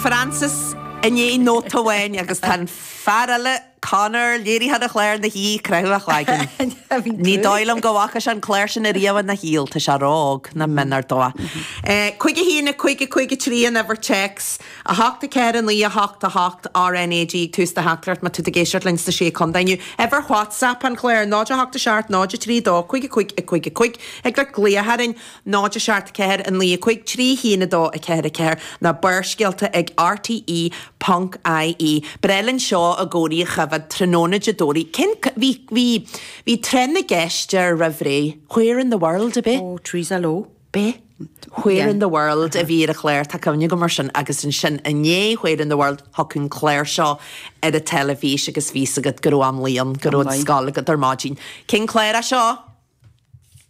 Frances i ndiaidh nóta amháin agus tá an fear eile, Conor, léiritheoir an chláir ina shuí ag croitheadh a chloigeann. Ní dóigh liom go bhfaca sé an clár sin ariamh ina shaol, tá sé ró-óg, nach méanar dó. 5 1 5 5 3 an uimhir téacs, 8 4 9 8 8 RNAG ag tús do theachtaireacht má tá tú ag éisteacht linn sna Sé Contae inniu. Uimhir WhatsApp an chláir, 0 8 7 0 3 2 5 5 5 5 Thig leat glaoch orainn. 0 7 4 9 5 3 1 2 4 4 nó Barrscéalta ag RTÉ ponc ie. Breá linn seo i gcónaí a choimhéad tráthnóna Dé Domhnaigh. Cén, bhí, bhí, bhí tráth na gceist air roimh ré. Where in the world, ab é? Ó, Teresa Lowe. B'é? Where in the world a bhí ar an chlár, tá cuimhne agam air sin, agus ansin i ndiaidh Where in the world thiocfadh an clár seo ar an teilifís agus bhí 's agat go raibh am luí ann, go raibh an scoil agat ar maidin. Cén clár é seo?